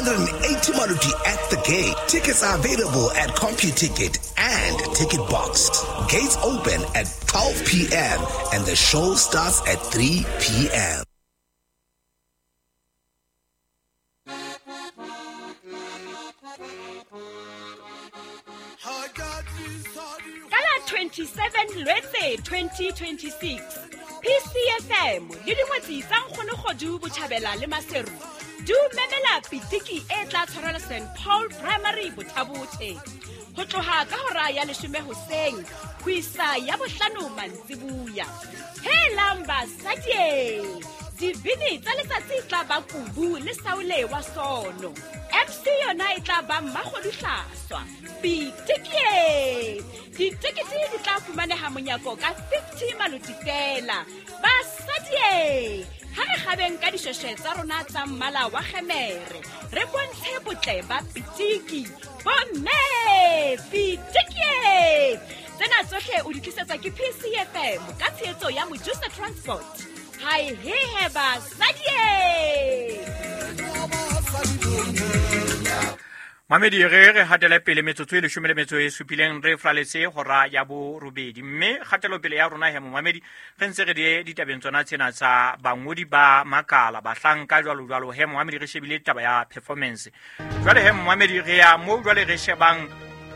380 Maluti at the gate. Tickets are available at CompuTicket and Ticket Box. Gates open at 12 p.m. and the show starts at 3 p.m. Ka la 27 Lwetse 2026, PCFM le dingwetsi tsa Nkgonogodu Botjhabela le Maseru di o memela pitiki e tla tshwarelwa St Paul Primary Bothabothe ho tloha ka hora ya leshome hoseng ho isa ya bohlano mantsibuya. Helang basadi! Dibini tsa letsatsi e tla ba Kubu le Saule wa Sono. MC yona e tla ba Mmakgodu Hlaswa. Pitikie! Ditekete di tla fumaneha monyako ka 50 maloti feela. Basadi! Ha re kgabeng ka dishweshwe tsa rona tsa mmala wa kgemere, re bontshe botle ba pitiki. Bomme! Pitikie! Tsena tsohle o di tlisetswa ke PCFM ka tshehetso ya Mojusa Transport. Hai hehe basadi! Mamedi re re hatele pele metsotso e leshome le metso e supileng re flaletse hora ya borobedi, mme kgatelopele ya rona he momamedi re ntse re di ditabeng tsona tsena tsa bangodi ba makala bahlanka jwalo jwalo. He momamedi re shebile taba ya performance. Jwale he momamedi re ya mo jwale re shebang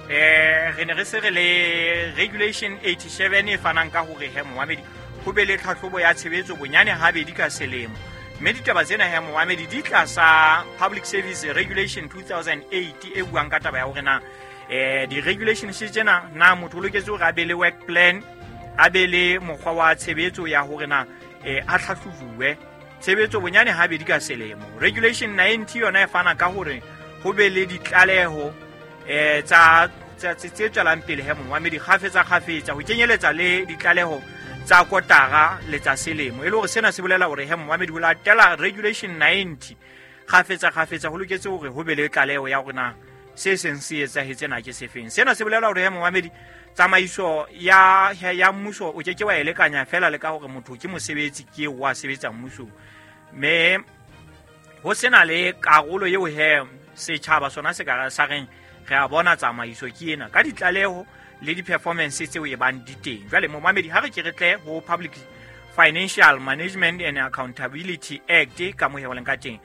re ne re se re le regulation 87 e fanang ka hore he momamedi ho be le tlhahlobo ya tshebetso bonyane habedi ka selemo. Mme ditaba tsena he momamedi di tlasa Public Service Regulation 2008 e buang ka taba ya hore na di-regulations tsena na motho o loketse hore a be le work plan, a be le mokgwa wa tshebetso ya hore na a tlhahlojuwe tshebetso bonyane habedi ka selemo. Regulation 90 yona e fana ka hore ho be le ditlaleho tsa tse tswelang pele he momamedi kgafetsa kgafetsa, ho kenyeletsa le ditlaleho tsa kotara le tsa selemo. E le hore sena se bolela hore he momamedi ho latela regulation 90 kgafetsa kgafetsa ho loketse hore ho be le tlaleho ya hore na se seng se etsahetse na ke sefeng. Sena se bolela hore he momamedi tsamaiso ya ya mmuso o ke ke wa e lekanya fela le ka hore motho ke mosebetsi ke wa sebetsa mmusong, mme ho sena le karolo eo he setjhaba sona se ka sa reng re a bona tsamaiso ke ena ka ditlaleho le di-performance tseo e bang di teng. Jwale momamedi ha re ke re tle ho Public Financial Management and Accountability Act ka mo leng ka teng.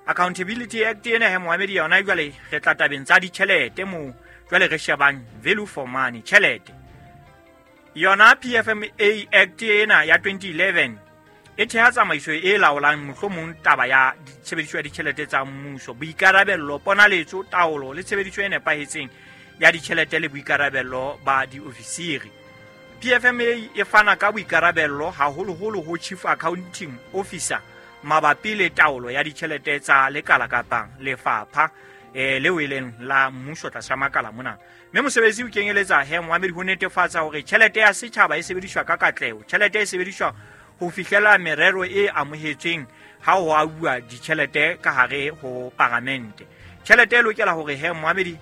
Accountability Act ena he momamedi yona jwale re tla tabeng tsa ditjhelete moo jwale re shebang value for money, tjhelete. Yona PFMA Act ena ya 2011 e theha tsamaiso e laolang mohlomong taba ya tshebediso ya ditjhelete tsa mmuso, boikarabello, ponaletso, taolo le tshebediso e nepahetseng ya ditjhelete le boikarabello ba diofisiri. PFMA e fana ka boikarabello haholoholo ho Chief Accounting Officer mabapi le taolo ya ditjhelete tsa lekala kapa lefapha leo e leng la mmuso tlasa makala mona. Mme mosebetsi o kenyeletsa he momamedi ho netefatsa hore tjhelete ya setjhaba e sebediswa ka katleho, tjhelete e sebediswa ho fihlela merero e amohetsweng ha ho abuwa ditjhelete ka hare ho paramente. Tjhelete e lokela hore he momamedi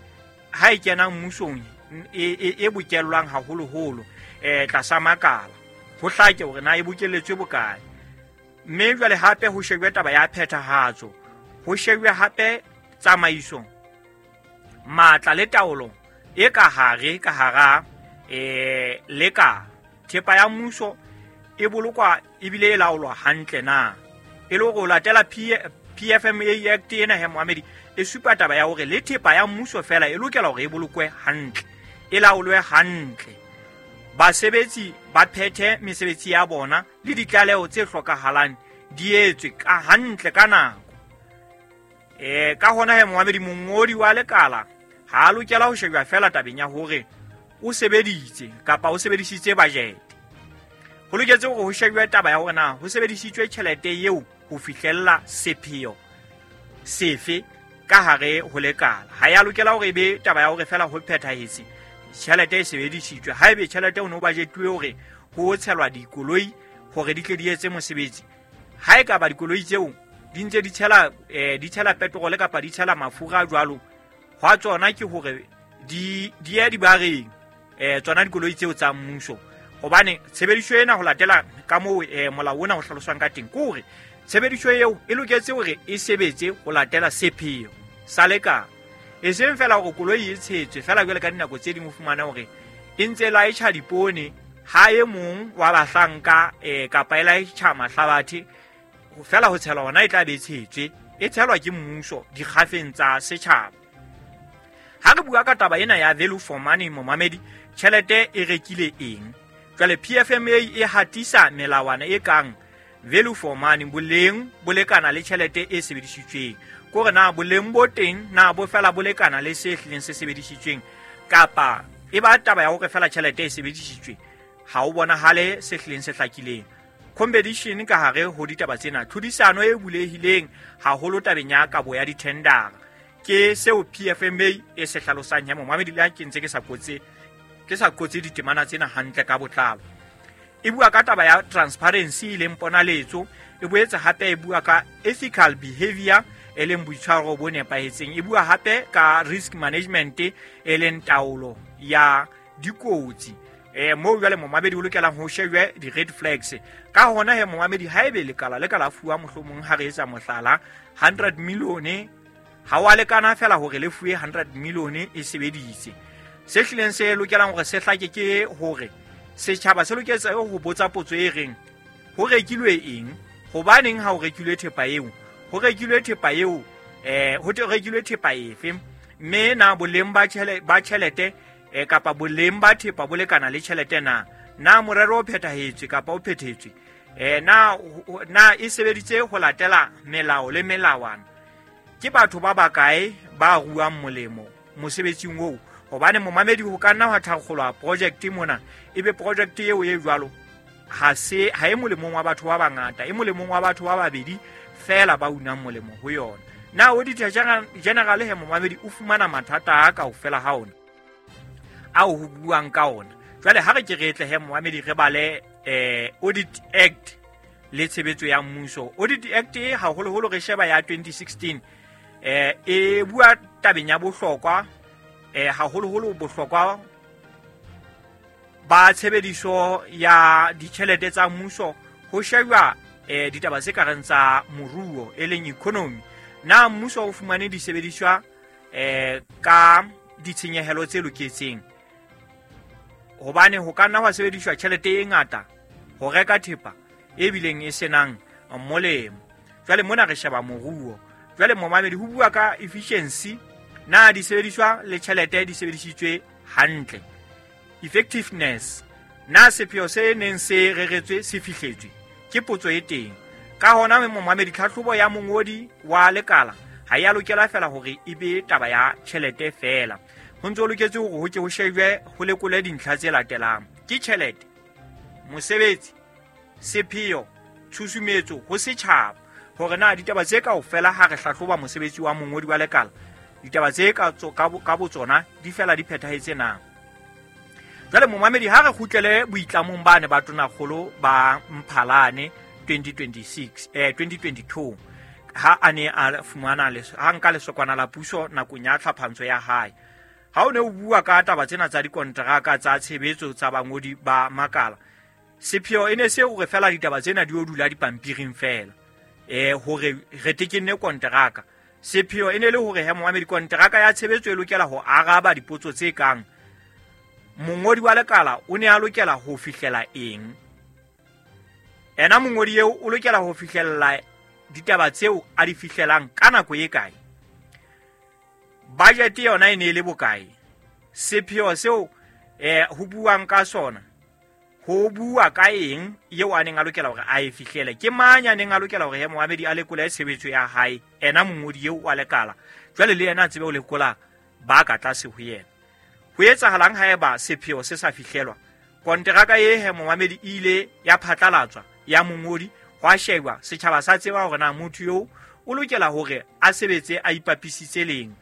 ha e kena mmusong e bokellwang haholoholo tlasa makala, ho hlake hore na e bokelletswe bokae. Mme jwale hape ho shejwe taba ya phethahatso, ho shejwe hape tsamaiso, matla le taolo e ka hare ka hara lekala. Thepa ya mmuso e bolokwa ebile e laolwa hantle na. E le hore o latela PFMA Act ena he momamedi e supa taba ya hore le thepa ya mmuso fela e lokela hore e bolokwe hantle, e laolwe hantle. Basebetsi ba phethe mesebetsi ya bona le ditlaleho tse hlokahalang di etswe ka hantle ka nako. Ka hona he momamedi mongodi wa lekala ha a lokela ho shejwa fela tabeng ya hore o sebeditse kapa o sebedisitse budget. Ho loketse hore ho shejwe taba ya hore na ho sebedisitswe tjhelete eo ho fihlella sepheo sefe ka hare ho lekala. Ha ya lokela hore e be taba ya hore fela ho phethahetse tjhelete e sebedisitswe. Haebe tjhelete o no budgetuwe hore ho tshelwa dikoloi hore di tle di etse mosebetsi, ha e ka ba dikoloi tseo di ntse di tshela di tshela petrol kapa di tshela mafura jwalo, hwa tsona ke hore di ye dibareng tsona dikoloi tseo tsa mmuso. Hobane tshebediso ena ho latela ka moo molao ona o hlaloswang ka teng, ke hore tshebediso eo e loketse hore e sebetse ho latela sepheo. sa lekala. E seng fela hore koloi e tshetswe fela jwale ka dinako tse ding o fumana hore e ntse laetjha dipoone ha e mong wa bahlanka kapa e laetjha mahlabathe fela ho tshelwa hona e tla be e tshetswe, e tshelwa ke mmuso dikgafeng tsa setjhaba. Ha re bua ka taba ena ya value for money, momamedi, tjhelete e rekile eng? Jwale PFMA e hatisa melawana e kang value for money, boleng bo lekana le tjhelete e sebedisitsweng. Kore na boleng bo teng na bo fela bo lekana le se hlileng se sebedisitsweng, kapa e ba taba ya hore fela tjhelete e sebedisitswe ha o bonahale se hlileng se hlakileng. Competition ka hare ho ditaba tsena, tlhodisano e bulehileng haholo tabeng ya kabo ya dithendara, ke seo PFMA e se hlalosang. Ya momamedi, le ha ke ntse ke sa kotse ditemana tsena hantle ka botlalo. E bua ka taba ya transparency e leng ponaletso, e boetse hape e bua ka ethical behavior e leng boitshwaro bo nepahetseng, e bua hape ka risk management e leng taolo ya dikotsi. Moo jwale momamedi o lokelang ho shejwe di-red flags. Ka hona he momamedi, haebe lekala le ka la fuwa mohlomong ha re etsa mohlala 100 million, ha wa lekana fela hore le fuwe 100 million e sebeditse. Se hlileng se lokelang hore se hlake ke hore setjhaba se loketse ho botsa potso e reng ho rekilwe eng, hobaneng ha ho rekilwe thepa eo, ho rekilwe thepa eo ho rekilwe thepa efe, mme na boleng ba tjhelete kapa boleng ba thepa bo lekana le tjhelete na, na morero o phethahetswe kapa o phethetswe, na e sebeditse ho latela melao le melawana, ke batho ba bakae ba ruang molemo mosebetsing oo. Hobane momamedi ho ka nna hwa thakgolwa project mona, ebe project eo e jwalo ha e molemong wa batho ba bangata, e molemong wa batho ba babedi fela ba unang molemo ho yona. Na Auditor General he momamedi o fumana mathata a kaofela ha ona ao ho buang ka ona. Jwale ha re ke re tle he momamedi re bale Audit Act le tshebetso ya mmuso. Audit Act e haholoholo re sheba ya 2016, e bua tabeng ya bohlokwa, haholoholo bohlokwa ba tshebediso ya ditjhelete tsa mmuso, ho shejwa ditaba tse kareng tsa moruo e leng economy. Na mmuso o fumane disebediswa ka ditshenyehelo tse loketseng? Hobane ho ka nna hwa sebediswa tjhelete e ngata ho reka thepa e bileng e senang molemo. Jwale mona re sheba moruo. Jwale momamedi ho bua ka efficiency, na disebediswa le tjhelete di sebedisitswe hantle. Effectiveness, na sepheo se neng se reretswe se fihletswe, ke potso e teng. Ka hona momamedi, tlhahlobo ya mongodi wa lekala ha ya lokela fela hore e be taba ya tjhelete fela. Ho ntse ho loketse hore ho ke ho shejwe ho lekole dintlha tse latelang: ke tjhelete, mosebetsi, sepheo, tshusumetso ho setjhaba. Hore na ditaba tse kaofela ha re hlahloba mosebetsi wa mongodi wa lekala, ditaba tse ka botsona di fela di phethahetse na. Jwale momamedi, ha re kgutlele boitlamong bane ba Tonakgolo ba Mphalane 2022, ha a ne a fumana ha nka lesokwana la puso nakong ya tlhaphantsho ya hae. Ha o ne o bua ka taba tsena tsa dikonteraka tsa tshebetso tsa bangodi ba makala, sepheo e ne se hore fela ditaba tsena di o dula dipampiring fela, hore re tekenne konteraka. Sepheo e ne le hore he momamedi, konteraka ya tshebetso e lokela ho araba dipotso tse kang: mongodi wa lekala o ne a lokela ho fihlela eng, ena mongodi eo o lokela ho fihlella ditaba tseo a di fihlelang ka nako e kae, budget yona e ne e le bokae, sepheo seo ho buang ka sona ho bua ka eng eo a neng a lokela hore a e fihlele, ke mang a neng a lokela hore he momamedi a lekole tshebetso ya hae, ena mongodi eo wa lekala jwale le yena a tsebe ho lekola ba ka tlase ho yena. Ho etsahalang haeba sepheo se sa fihlelwa? Konteraka e he momamedi e ile ya phatlalatswa ya mongodi, hwa shejwa setjhaba sa tseba hore na motho eo o lokela hore a sebetse a ipapisitse leng.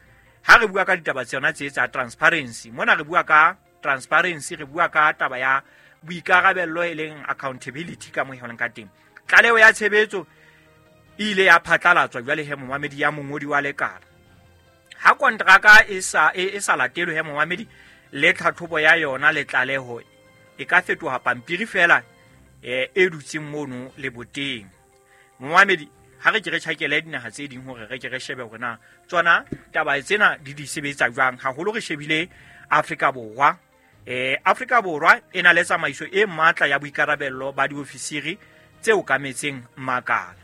Ha re bua ka ditaba tsona tse tsa transparency, mona re bua ka transparency, re bua ka taba ya boikarabello e leng accountability ka mo e leng ka teng. Tlaleho ya tshebetso e ile ya phatlalatswa jwale he momamedi ya mongodi wa lekala. Ha kontraka e sa latelwe he momamedi, le tlhatlhobo ya yona le tlaleho e ka fetoha pampiri fela e dutseng mono leboteng. Momamedi, Ha re ke re tjhakele dinaha tse ding hore re ke re shebe hore na tsona taba tsena di di sebetsa jwang, haholo re shebile Afrika Borwa. Afrika Borwa e na le tsamaiso e matla ya boikarabello ba diofisiri tse okametseng makala.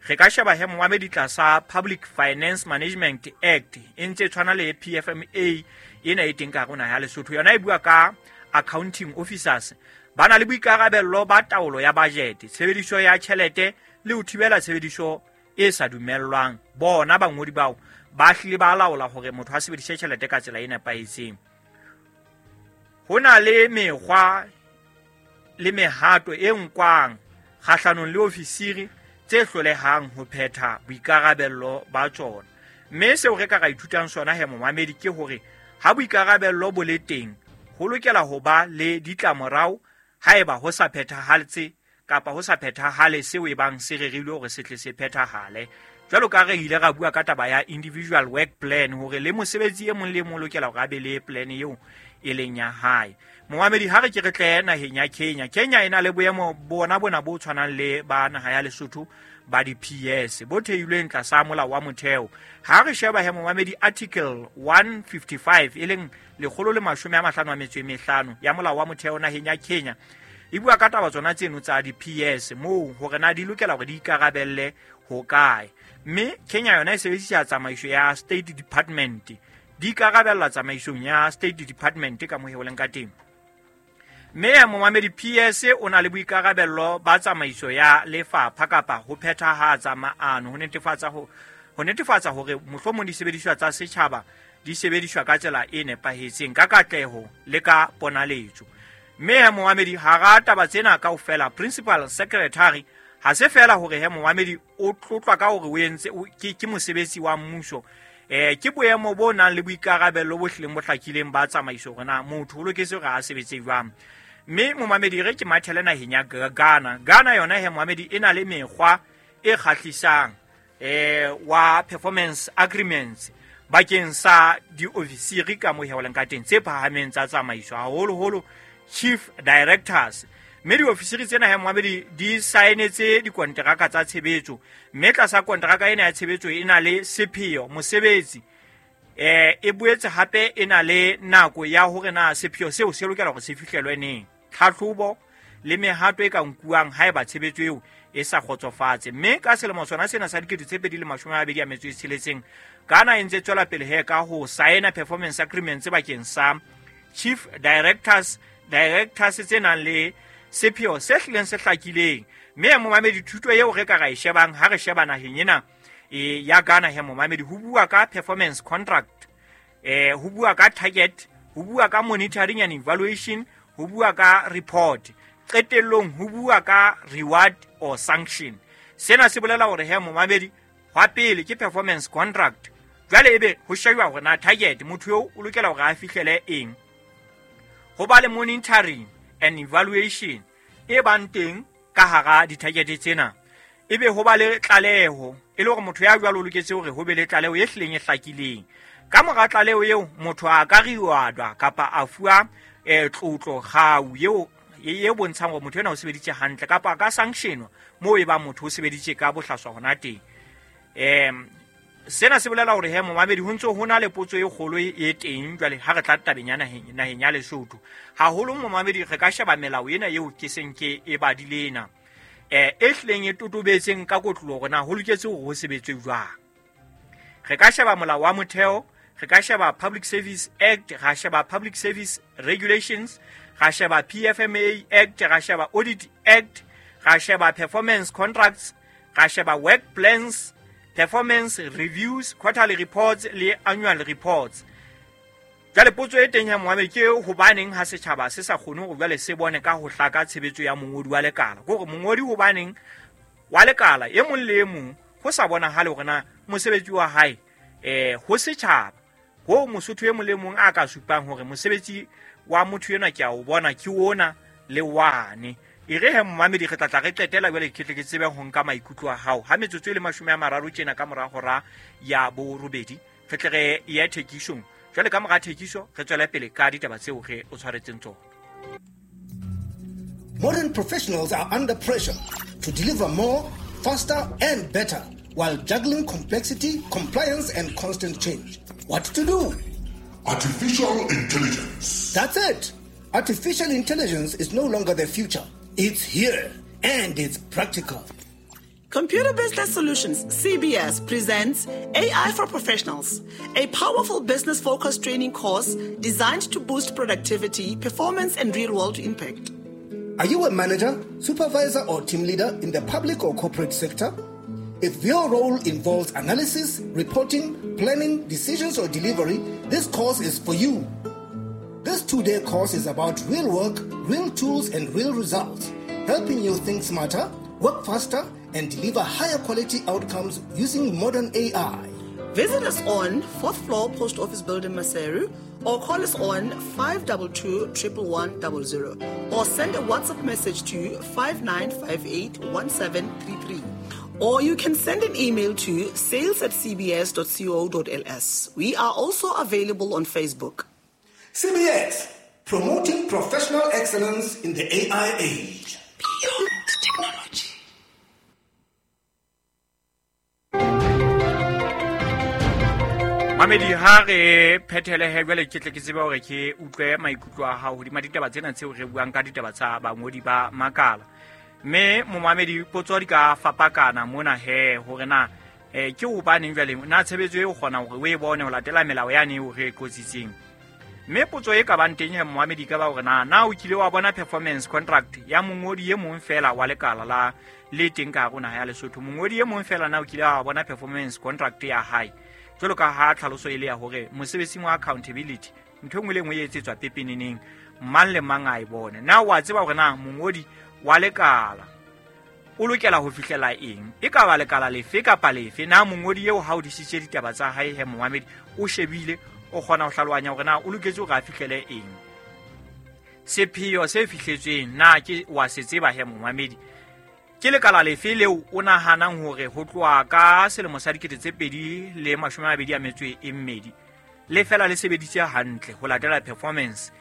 Re ka sheba he momamedi tlasa Public Finance Management Act, e ntse e tshwana le PFMA ena e teng ka hare ho naha ya Lesotho. Yona e bua ka accounting officers ba na le boikarabello ba taolo ya budget, tshebediso ya tjhelete le ho thibela tshebediso e sa dumellwang. Bona bangodi bao ba hlile ba laola hore motho a sebedise tjhelete ka tsela e nepahetseng. Ho na le mekgwa le mehato e nkwang kgahlanong le ofisiri tse hlolehang ho phetha boikarabello ba tsona. Mme seo re ka ra ithutang sona he momamedi ke hore ha boikarabello bo le teng, ho lokela ho ba le ditlamorao haeba ho sa phethahatse kapa ho sa phethahale seo e bang se rerilwe hore se tle se phethahale. Jwalo ka re ile ra bua ka taba ya individual work plan, hore le mosebetsi e mong le e mong o lokela hore a be le plan eo e leng ya hae. Momamedi, ha re ke re tle naheng ya Kenya. Kenya e na le boemo bona bona bo tshwanang le ba naha ya Lesotho ba di-PS bo theilweng tlasa molao wa motheo. Ha re sheba he momamedi article 155 e leng 155 ya molao wa motheo naheng ya Kenya, e bua ka taba tsona tseno tsa di-PS moo hore na di lokela hore di ikarabelle ho kae. Mme Kenya yona e sebedisa tsamaiso ya State Department, di ikarabella tsamaisong ya State Department ka moo ho leng ka teng. Mme momamedi, PS o na le boikarabello ba tsamaiso ya lefapha kapa ho phethahatsa maano, ho netefatsa hore mohlomong disebediswa tsa setjhaba di sebediswa ka tsela e nepahetseng, ka katleho le ka ponaletso. Mme momamedi, hara taba tsena kaofela, principal secretary ha se feela hore he momamedi o tlotlwa ka hore o entse ke mosebetsi wa mmuso, ke boemo bo nang le boikarabello bo hlileng bo hlakileng ba tsamaiso hore na motho o loketse hore a sebetse jwang. Mme momamedi, re ke mathele naheng ya Ghana. Ghana yona he momamedi e na le mekgwa e kgahlisang wa performance agreements bakeng sa diofisiri ka moo he ka teng tse phahameng tsa tsamaiso, haholoholo chief directors. Mme diofisiri tsena he momamedi di saenetse dikonteraka tsa tshebetso, mme tlasa konteraka ena ya tshebetso e na le sepheo mosebetsi, e boetse hape e na le nako ya hore na sepheo seo se lokela hore se fihlelwe neng, tlhahlobo le mehato e ka nkuwang haeba tshebetso eo e sa kgotsofatse. Mme ka selemo sona sena sa 2026, Ghana e ntse tswela pele he ka ho saena performance agreements bakeng sa chief directors, directors tse nang le sepheo se hlileng se hlakileng. Mme momamedi, thuto eo re ka ra e shebang ha re sheba naheng ena ya Ghana he momamedi, ho bua ka performance contract, ho bua ka target, ho bua ka monitoring and evaluation, ho bua ka report, qetellong ho bua ka reward or sanction. Sena se bolela hore he momamedi, hwa pele ke performance contract. Jwale ebe ho shejwa hore na target motho eo o lokela hore a fihlele eng, ho ba le monitoring and evaluation e bang teng ka hara di-target tsena, ebe ho ba le tlaleho e le hore motho ya jwalo o loketse hore ho be le tlaleho e hlileng e hlakileng. Ka mora tlaleho eo motho a ka rewardwa kapa a fuwa tlotlo kgau eo e bontshang hore motho ena o sebeditse hantle, kapa a ka sanctionwa moo e bang motho o sebeditse ka bohlaswa hona teng. Sena se bolela hore he momamedi ho ntse ho na le potso e kgolo e teng jwale ha re tla tabeng ya naheng ya Lesotho. Haholo momamedi re ka sheba melao ena eo ke seng ke e badile ena, e hlileng e totobetseng ka kotloloho hore na ho loketse hore ho sebetswe jwang. Re ka sheba molao wa motheo, re ka sheba Public Service Act, ra sheba Public Service Regulations, ra sheba PFMA Act, ra sheba Audit Act, ra sheba Performance Contracts, ra sheba Work Plans, Performance Reviews, Quarterly Reports le Annual Reports. Jwale potso e teng ya moamedi ke hobaneng ha setjhaba se sa kgone hore jwale se bone ka ho hlaka tshebetso ya mongodi wa lekala. Ke hore mongodi hobaneng wa lekala e mong le e mong ho sa bonahale hore na mosebetsi wa hae ho setjhaba, ho Mosotho e mong le mong a ka supang hore mosebetsi wa motho enwa ke a o bona ke ona le wane. E re he momamedi re tla re qetela jwale ke tle ke tsebe ho nka maikutlo a hao. Ha metsotso e le 30 tjena ka mora hora ya borobedi, re tle re ye thekisong. Jwale ka mora thekiso re tswele pele ka ditaba tseo re o tshwaretseng tsona. Modern professionals are under pressure to deliver more, faster and better. while juggling complexity, compliance, and constant change. What to do? Artificial intelligence. That's it. Artificial intelligence is no longer the future. It's here, and it's practical. Computer Business Solutions, CBS, presents AI for Professionals, a powerful business-focused training course designed to boost productivity, performance, and real-world impact. Are you a manager, supervisor, or team leader in the public or corporate sector? If your role involves analysis, reporting, planning, decisions, or delivery, this course is for you. This 2-day course is about real work, real tools, and real results, helping you think smarter, work faster, and deliver higher quality outcomes using modern AI. Visit us on 4th floor Post Office Building, Maseru, or call us on 522-11100, or send a WhatsApp message to 5958-1733. Or you can send an email to sales@cbs.co.ls. We are also available on Facebook. CBS, promoting professional excellence in the AI age. Beyond technology. Mamedi, ha re phethele he jwale ke tle ke tsebe hore ke utlwe maikutlo a hao hodima ditaba tsena tseo re buang ka ditaba tsa bangodi ba makala. Mme momamedi, potso di ka fapakana mona he hore na ke hobaneng jwale na tshebetso e o kgona hore o e bone ho latela melao yane eo re e qotsitseng. Mme potso e ka bang teng he momamedi ka ba hore na o kile wa bona performance contract ya mongodi e mong fela wa lekala la le teng ka hare ho naha ya Lesotho. Mongodi e mong fela na o kile wa bona performance contract ya hae? Jwalo ka ha tlhaloso e le ya hore mosebetsing wa accountability ntho e nngwe le nngwe e etsetswa pepeneneng, mang le mang a e bone. Na wa tseba hore na mongodi wa lekala o lokela ho fihlela eng? E ka ba lekala lefe kapa lefe, na mongodi eo ha o disitse ditaba tsa hae he momamedi o shebile, o kgona ho hlalohanya hore na o loketse hore a fihlele eng? Sepheo se fihletsweng na ke wa se tseba he momamedi? Ke lekala lefe leo o nahanang hore ho tloha ka selemo sa 2022 le fela le sebeditse hantle ho latela performance,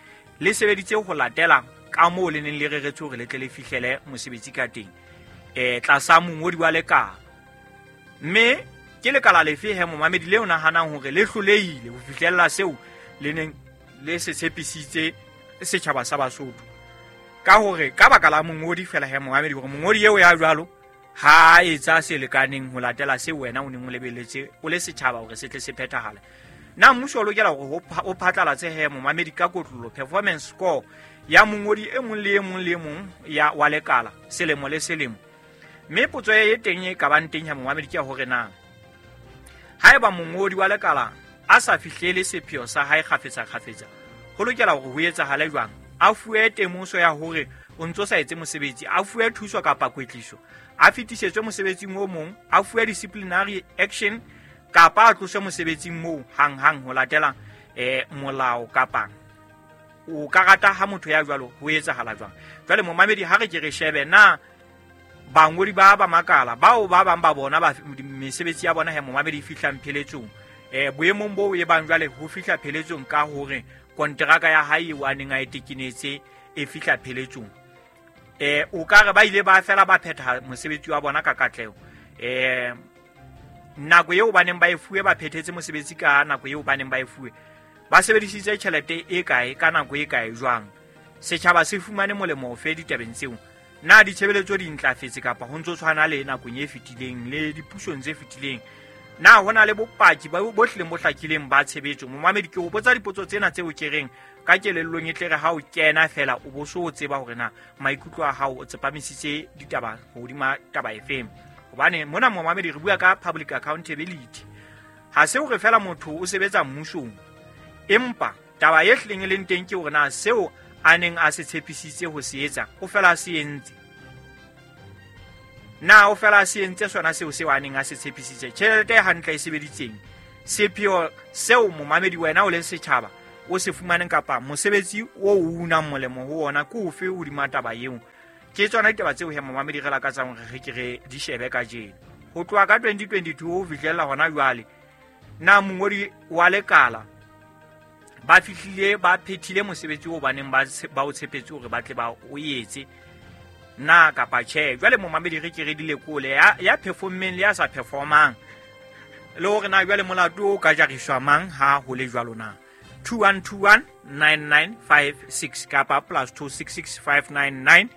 le sebeditse ho latela ka moo le neng le reretswe hore le tle le fihlele mosebetsi ka teng tlasa mongodi wa lekala? Mme ke lekala lefe he momamedi leo nahanang hore le hlolehile ho fihlella seo le neng le se tshepisitse setjhaba sa Basotho? Ka hore ka baka la mongodi fela he momamedi, hore mongodi eo ya jwalo ha etsa se lekaneng ho latela seo wena o neng o lebelletse o le setjhaba hore se tle se phethahale. Na mmuso o lokela hore o phatlalatse he momamedi ka kotlolo performance score ya mongodi e mong le e mong le e mong ya wa lekala selemo le selemo? Mme potso e teng e ka bang teng ya momamedi ke hore na haeba mongodi wa lekala a sa fihlele sepheo sa hae kgafetsa kgafetsa, ho lokela hore ho etsahale jwang? A fuwe temoso ya hore o ntso sa etse mosebetsi, a fuwe thuso kapa kwetliso, a fetisetswe mosebetsing o mong, a fuwe disciplinary action kapa a tloswe mosebetsing moo hanghang ho latela molao? Kapa o ka rata ha motho ya jwalo ho etsahala jwang? Jwale momamedi, ha re ke re shebe na bangodi ba ba makala bao ba bang ba bona ba mesebetsi ya bona he momamedi e fihlang pheletsong, boemong boo e bang jwale ho fihla pheletsong ka hore kontraka ya hae eo a neng a e tekenetse e fihla pheletsong, o ka re ba ile ba fela ba phetha mosebetsi wa bona ka katleho. Nako eo ba neng ba e fuwe ba phethetse mosebetsi ka nako eo ba neng ba e fuwe, ba sebedisitse tjhelete e kae ka nako e kae jwang? Setjhaba se fumane molemo ofe ditabeng tseo? Na ditshebeletso di ntlafetse kapa ho ntso tshwana le nakong e fetileng le dipusong tse fetileng? Na ho na le bopaki bo hlileng bo hlakileng ba tshebetso? Momamedi, ke o botsa dipotso tsena tseo ke reng ka kelellong e tle re ha o kena fela o bo so o tseba hore na maikutlo a hao o tsepamisitse ditaba hodima taba efeng. Hobane mona momamedi re bua ka public accountability. Ha se hore fela motho o sebetsa mmusong, empa taba e hlileng e leng teng ke hore na seo a neng a se tshepisitse ho se etsa o fela a se entse. Na o fela a se entse sona seo a neng a se tshepisitse? Tjhelete e hantle e sebeditseng, sepheo seo momamedi wena o le setjhaba o se fumaneng kapa mosebetsi o unang molemo ho ona ke ofe hodima taba eo? Ke tsona ditaba tseo he momamedi re lakatsang hore re ke re di shebe kajeno. Ho tloha ka 2022 ho fihlella hona jwale, na mongodi wa lekala ba fihlile ba phethile mosebetsi o baneng ba o tshepetse hore ba tle ba o etse? Na kapa tjhe? Jwale momamedi re ke re di lekole ya performeng le ya sa performang, le hore na jwale molato o ka jariswa mang ha ho le jwalo na. 21219956 kapa +266 599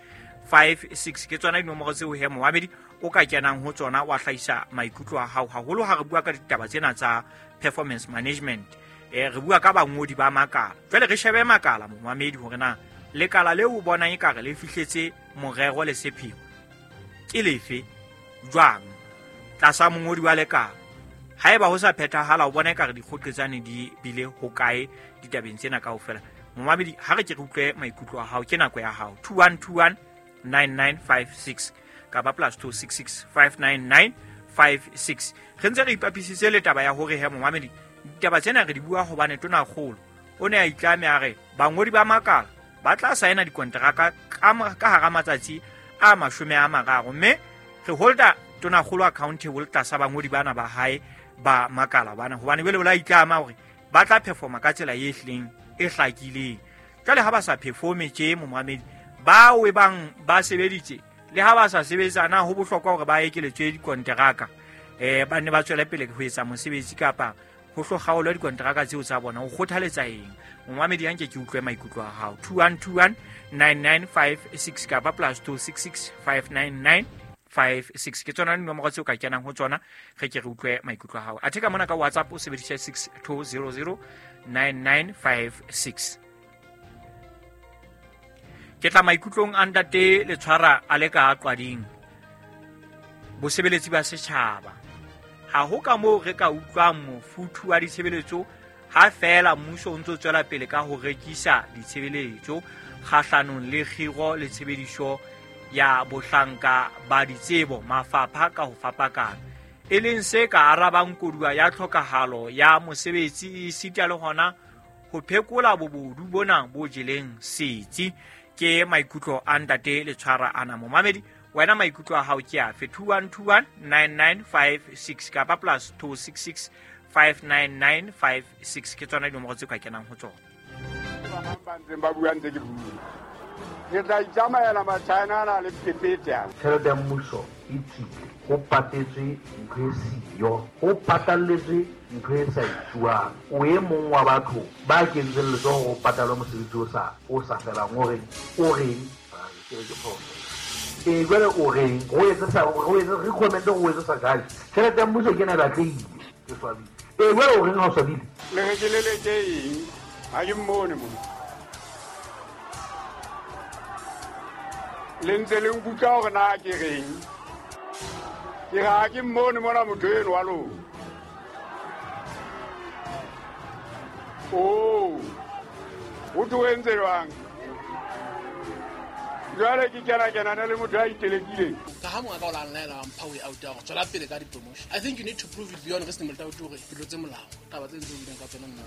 56 ke tsona dinomoro tseo he momamedi o ka kenang ho tsona wa hlahisa maikutlo a hao, haholo ha re bua ka ditaba tsena tsa performance management. Re bua ka bangodi ba makala. Jwale re shebe makala momamedi hore na lekala leo o bonang ekare le fihletse morero le sepheo ke lefe jwang tlasa mongodi wa lekala. Haeba ho sa phethahala o bona ekare dikgoqetsane di bile hokae ditabeng tsena kaofela. Momamedi ha re ke re utlwe maikutlo a hao, ke nako ya hao. 21219956 kapa +266 599 56. Re ntse re ipapisitse le taba ya hore he momamedi ditaba tsena re di bua hobane tonakgolo o ne a itlame a re bangodi ba makala ba tla saena dikonteraka ka hara matsatsi a 30, mme re holda tonakgolo accountable tlasa bangodi bana ba hae ba makala bana, hobane jwale o la itlama hore ba tla performa ka tsela e hlileng e hlakileng. Jwale ha ba sa performe tje momamedi, bao e bang ba sebeditse le ha ba sa sebetsa, na ho bohlokwa hore ba ekeletswe dikonteraka ba nne ba tswele pele ho etsa mosebetsi kapa ho hlo dikonteraka tseo tsa bona? O kgothaletsa eng momamedi? Anke ke utlwe maikutlo a hao. 21219956 kapa +266 599 56 ke tsona dinomoro tseo ka kenang ho tsona, re ke re utlwe maikutlo a hao. Athe ka mona ka WhatsApp o sebedisa 6200 9956. Ke tla maikutlong a ntate Letshwara a le ka Qwading, bosebeletsi ba setjhaba. Ha ho ka moo re ka utlwang mofuthu wa ditshebeletso ha feela mmuso o ntso tswela pele ka ho rekisa ditshebeletso kgahlanong le kgiro le tshebediso ya bohlanka ba ditsebo mafapha ka ho fapakana, e leng se ka arabang koduwa ya tlhokahalo ya mosebetsi esita le hona ho phekola bobodu bona bo jeleng setsi. Ke maikutlo a ntate Letshwara ana. Momamedi wena maikutlo a hao ke afe? 21219956 kapa +266 599 56 ke tsona dinomoro tse ka kenang ho tsona. Ba ntseng ba bua ntse ke bua, ke tla itsamaela Machina ana le phephethe. Tjhelete ya mmuso e tswile, ho patetswe ntho e siyo, ho patalletswe ntho e sa etsuwang. O e mong wa batho ba kentseng letsoho ho patalwe mosebetsi o sa felang. O reng? Ke re ke phoso. Jwale o reng? Ho etsa recommend ho etsa sa kae? Tjhelete ya mmuso ke ena e batlehile, ke swabile. Jwale o reng ha o swabile? Le re ke leleke eng? Ha ke mmone mona. Le ntse le nkutlwa hore na ke reng? Ke re ha ke mmone mona motho eno wa lona. Oh, o tlo entse jwang? Jwale ke kena le motho a itelekileng. Ka ha monga ka o la nlaela wa mpha way out ya hore tswela pele ka di-promotion. I think you need to prove it beyond reasonable doubt hore ke tlotse molao. Taba tse ntse o buileng ka tsona nna